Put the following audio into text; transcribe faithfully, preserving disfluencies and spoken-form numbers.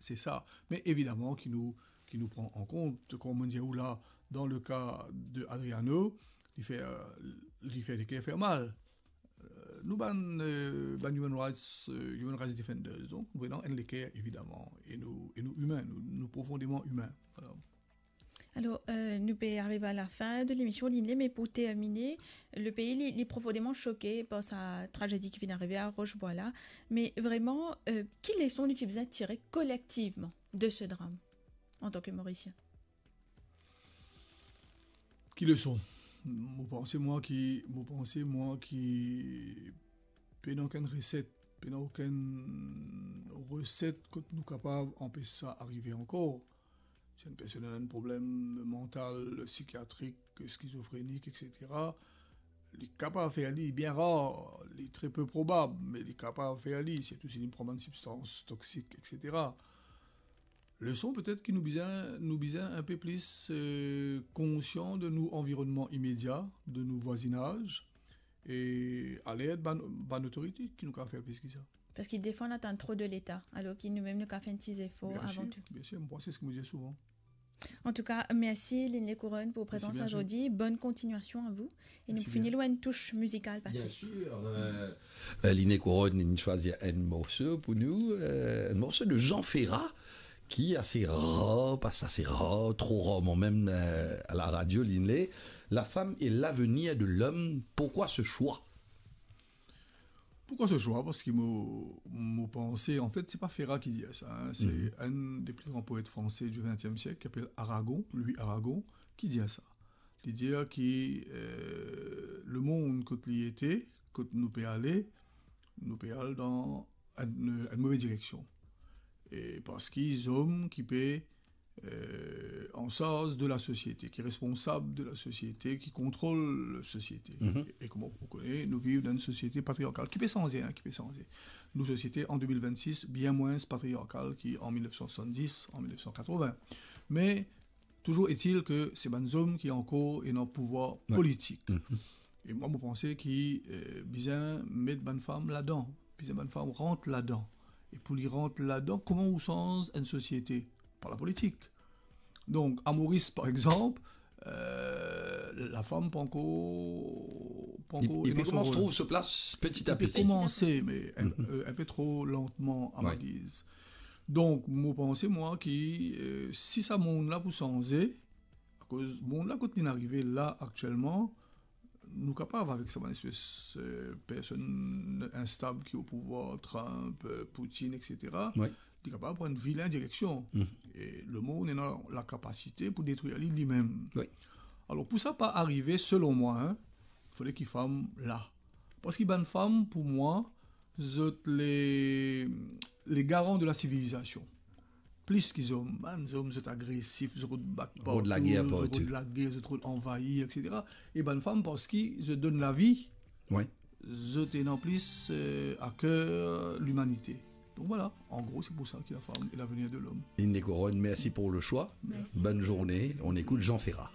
se sa. Me evidaman ki nou, ki nou pran an kont, kouma mo dir ou la, dan le ka de Adriano, li fer, li fer leker fer mal. Euh, nou bann, euh, bann human rights, euh, human rights defenders, donk nou ena enn leker, evidaman, e nou, e nou imin, nou, nou profondeman imin. Vwala. Alor, euh, nou pe ariv a lafin de lemision, Linley, me pou termine, le pei, li, li profondeman soke par sa tragedi ki finn arive a Roche-Bois la. Me vreman, euh, ki leson nou ti bizin tire kolektivman de se dram, antan ke Morisien? Ki leson? Mo panse mwa ki, mo panse mwa ki pena okenn reset, pena okenn reset kot nou kapav anpes sa arive ankor. Si enn personn ena enn problem mantal, sikiatrik, skizofrenik, et cetera, li kapav fer li, bien rar, li tre pe probab, me li kapav fer li, sirtou si li pran bann sibstans toksik, et cetera. Leson petet ki nou bizin, nou bizin enpe plis, euh, konsian de nou anvironnman imedia, de nou vwazinaz, e alert bann, bann otorite ki nou kapav fer plis ki sa. Parski defwa nou atann tro de Leta, alor ki noumem nou kapav fer enn ti zefor avan tou. Bien sir, bien sir, mo panse se ki mo dir souvan. Antouka, mersi Linley Couronne pou prezans azordi. Bonne continuation à vous. E nou pou fini lor enn tous mizikal, Patrice. Bien sûr. Euh, euh, Linley Couronne, inn swazir enn morso pou nou, euh, enn morso de Jean Ferrat, ki ase rar, pa ase rar, tro rarman mem, euh, a la radio, Linley. La femme est l'avenir de l'homme, pourquoi ce choix? Pourquoi ce choix? Parski mo, mo panse, anfet, se pa Ferrat ki dir sa, hein, se enn de pli gran poet franse di vintiem siek, ki apel Aragon, Louis Aragon, ki dir sa. Li dir ki, euh, lemond kot li ete, kot nou pe ale, nou pe al dan enn, enn move direksion. E parski zom ki pe, euh, ansarz de la sosiete, ki responsab de la sosiete, ki kontrol la sosiete. E, e kouma ou kone, nou viv dan enn sosiete patriarkal, ki pe sanze, hein, ki pe sanze. Nou sosiete an de mil vennsis bien mwins patriarkal ki an mil nef san swasanndis, an mil nef san katrovin. Me, touzour etil ke se bann zom ki ankor ena pouvwar politik. E mwa, mo panse ki, euh, bizin met bann fam ladan, bizin bann fam rant ladan. E pou li rant ladan, kouma ou sanz enn sosiete? Par la politik. Donk, a Moris, par exanp, euh, lafam pankor, pankor ena so rol. Li, li pe koumans trouv so plas peti a peti. Li pe koumanse, me enn, euh, enn pe tro lantman, a mo giz. Donk, mo panse, mwa, ki, euh, si sa mond la pou sanze, akoz mond la kot li'nn arive la aktielman, nou kapav avek sa bann espes, euh, personn instab ki o pouvwar, Trump, euh, Poutine, et cetera. Wi. Li kapav pran enn vilin direksion. E lemond ena lakapasite pou detrir li, limem. Wi. Alor, pou sa pa arive, selon mwa, hein, fode ki fam la. Parski bann fam, pou mwa, zot le, le garan de la sivilizasion. Plis ki zom, bann zom, zot agresif, zot rod bat partou, zot rod lager, zot rod anvayir, et cetera. E bann fam, parski zot donn lavi, wi, zot ena plis, euh, a ker limanite. Donk vwala, an gro, se pou sa ki la femme est l'avenir de l'homme. Linley Couronne, merci pour le choix. Merci. Bonne journée. On écoute Jean Ferrat.